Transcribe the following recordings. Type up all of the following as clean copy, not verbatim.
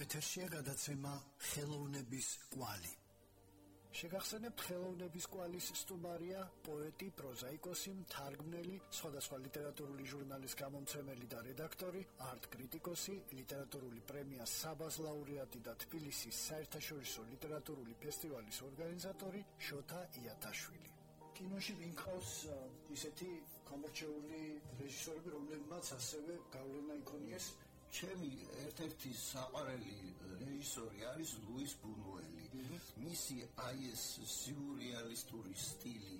ეთერშია გადაცემა ხელოვნების კვალი. შეგახსენებთ ხელოვნების კვალის სტუმარია პოეტი, პროზაიკოსი, მთარგმნელი, სხვადასხვა ლიტერატურული ჟურნალის გამომცემელი და რედაქტორი, არტ-კრიტიკოსი, ლიტერატურული პრემია საბას ლაურეატი და თბილისის საერთაშორისო ლიტერატურული ფესტივალის ორგანიზატორი შოთა იათაშვილი. კინოში ვინყავს ისეთი გამორჩეული რეჟისორები, რომლებმაც ასევე გავლენა იქონიეს. ჩემი ერთ-ერთი საყვარელი რეჟისორი არის ლუის ბუნუელი. მისი აი ეს სიურრეალისტური სტილი,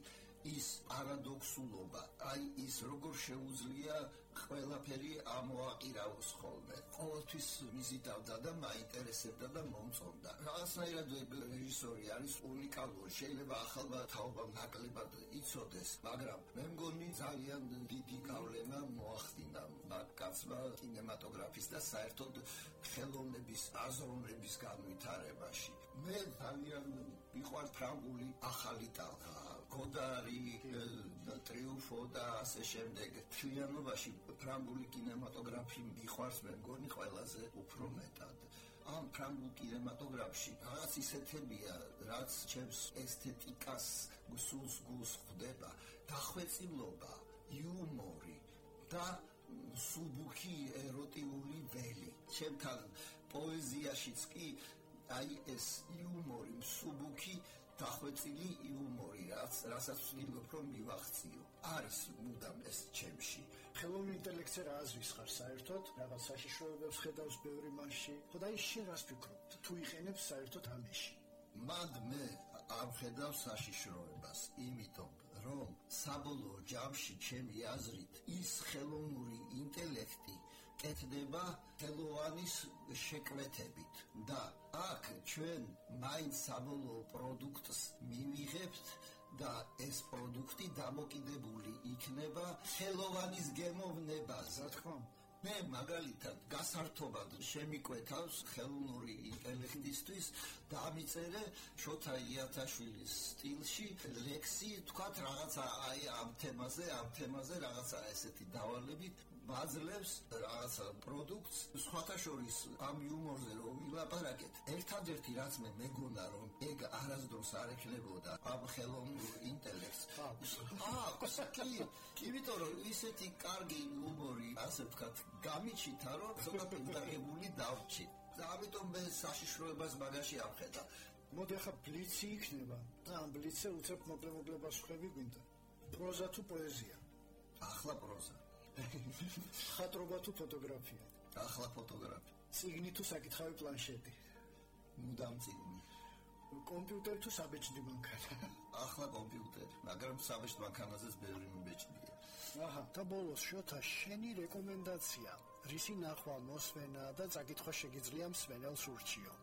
ის პარადოქსულობა, აი ის როგორ შეუძლია ყველაფერი ამოაყირაოს ხოლმე. ყოველთვის მიზიდავდა და მაინტერესებდა და მომწონდა. რაღაცნაირად რეჟისორი არის უნიკალური, შეიძლება ახალმა თაობამ ნაკლებად იცოდეს, მაგრამ მე მგონი ძალიან დიდი გავლენა მოახდინა კაცმა კინემატოგრაფის და საერთოდ ხელოვნების აზროვნების განვითარებაში. მე ძალიან მიყვარს ფრანგული ახალი ტალღა, გოდარი, ტრიუმფო და ასე შემდეგ. მთლიანობაში ფრანგული კინემატოგრაფი მიყვარს მე მგონი ყველაზე უფრო მეტად. ამ ფრანგულ კინემატოგრაფში რაღაც ისეთებია, რაც ჩემს ესთეტიკას გსულს ხვდება, დახვეწილობა, იუმორი და სუბუქი ეროტიული ველი. ჩემთან პოეზიაშიც კი აი ეს იუმორი, სუბუქი დახვეწილი იუმორი, რასაც ვცდილობ რომ მივახციო. არის მუდამ ეს ჩემში. ხელოვნური ინტელექტზე რა აზრის ხარ საერთოდ? რაღაც საშიშროებებს ხედავს ბევრი მასში. ხოდა ის შენ რას ფიქრობ? თუ იყენებს საერთოდ ამაში? მად მე არ ვხედავ საშიშროებას, იმიტომ რომ საბოლოო ჯამში ჩემი აზრით ის ხელოვნური ინტელექტი კეთდება ხელოვანის შეკვეთებით და აქ ჩვენ მაინც საბოლოო პროდუქტს მივიღებთ და ეს პროდუქტი დამოკიდებული იქნება ხელოვანის გემოვნებაზე. რა თქმა უნდა, მე მაგალითად გასართობად შემიკვეთავს ხელოვნური ინტელექტისთვის და ამიწერე შოთა იათაშვილის სტილში ლექსი, თქვათ რაღაცა აი ამ თემაზე რაღაცა ესეთი დავალებით ბაძლებს რაღაცა პროდუქტს. სხვათა შორის ამ იუმორზე რომ ვილაპარაკეთ, ერთადერთი რაც მე მეგონა რომ ეგ არასდროს არ ექნებოდა ამ ხელოვნურ ინტელექტს. იმიტომ რომ ისეთი კარგი იუმორი, ასე ვთქვათ, გამიჩითა რომ ცოტა პენტაგებული დავრჩი. და ამიტომ მე საშიშროებას მაგაში ამხედა. მოდი ახლა ბლიცი იქნება და ამ ბლიცზე უცებ მოკლე პასუხები გვინდა. პროზა თუ პოეზია? ახლა პროზა. ხატრობა თუ ფოტოგრაფია? ახლა ფოტოგრაფია. წიგნი თუ საკითხავი პლანშეტი? მუდამ წიგნი. კომპიუტერი თუ საბეჭდი მანქანა? ახლა კომპიუტერი, მაგრამ საბეჭდ მანქანაზეც ბევრი მიბეჭდია. აჰა, და ბოლოს შოთა, შენი რეკომენდაცია, რისი ნახვა, მოსვენა და წაკითხვა შეგიძლია მსმენელს ურჩიო?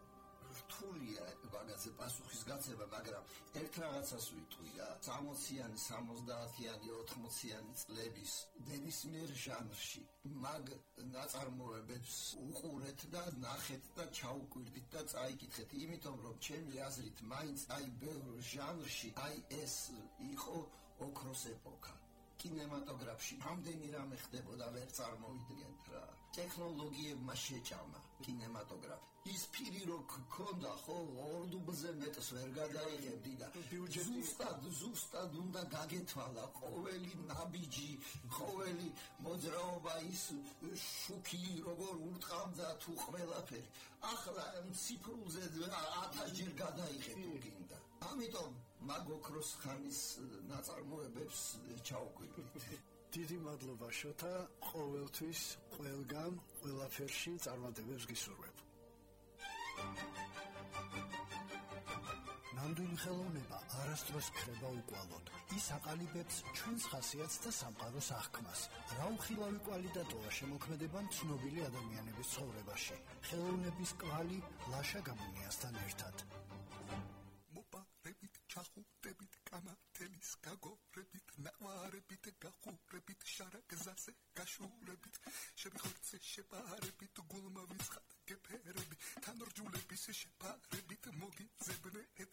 რთულია მაგაზე პასუხის გაცემა, მაგრამ ერთ რაღაცას ვიტყვი რა. 60-იანი, 70-იანი, 80-იანი წლების ნებისმიერ ჟანრში მაგ ნაწარმოებებს უყურეთ და ნახეთ და ჩაუკვირდით და წაიკითხეთ, იმიტომ რომ ჩემი აზრით მაინც აი ბევრ ჟანრში აი ეს იყო ოქროს ეპოქა. კინემატოგრაფში რამდენი რამე ხდებოდა ვერ წარმოვიდგენთ რა. ტექნოლოგიებმა შეჭამა კინემატოგრაფი. ის ფირი რო გქონდა ხო, ორდუბლზე მეტს ვერ გადაიღებდი და ზუსტად უნდა გაგეთვალა ყოველი ნაბიჯი, ყოველი მოძრაობა, ის შუქი როგორ ურტყამდა თუ ყველაფერი. ახლა ციფრულზე 1000-ჯერ გადაიღებ თუ გინდა. ამიტომ მაგ ოქროს ხანის ნაწარმოებებს ჩაუკვირდით. დიდი მადლობა შოთა, ყოველთვის ყველგან ყველაფერში წარმატებებს გისურვებ. ნამდვილი ხელოვნება არასდროს ქრება უკვალოდ. ის აყალიბებს ჩვენს ხასიათს და სამყაროს აღქმას. რა უხილავი კვალი და ტოვა შემოქმედება ცნობილი ადამიანების ცხოვრებაში. ხელოვნების კვალი ლაშა გამონიასთან ერთად. ჩახურებით კამათელის გაგორებით, ნაყვარებით გახურებით, შარაგზაზე გაშურებით, შებიხორცე შეპარებით, გულმა ვიცხად გეფერები, თანორჯულების შეპარებით, მოგიძებნე ეთერები.